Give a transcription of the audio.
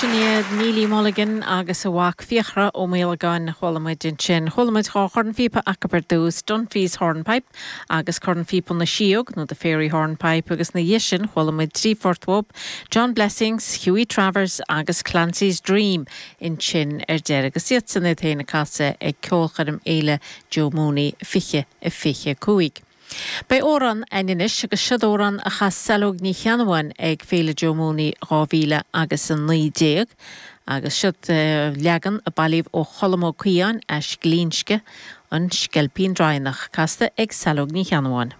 Sin iad Neilí Mulligan agus a mhac Fiachra Ó Maolagáin a chuala muid ansin. Chuala muid dha chornphíopa acu ar dtús, Dunphy's Hornpipe agus Cornphíopa na Síóg nó The Fairy Hornpipe agus ina dhiaidh sin chuala muid trí phort uathu, John Blessings, Hughie Travers agus Clancy's Dream ansin ar deireadh agus iadsan iad féin ag casadh ag Ceolchoirm Fhéile Joe Mooney 2025. Beidh amhrán a'inn anois agus seod amhrán a chas Saileog Ní Cheannabháin ag Féile Joe Mooney 2000 agus 19 agus seod leagan a bailíodh ó Cholm Ó Caodháin as Glinsce, An Sceilpín Draighneach, casta ag Saileog Ní Cheannabháin.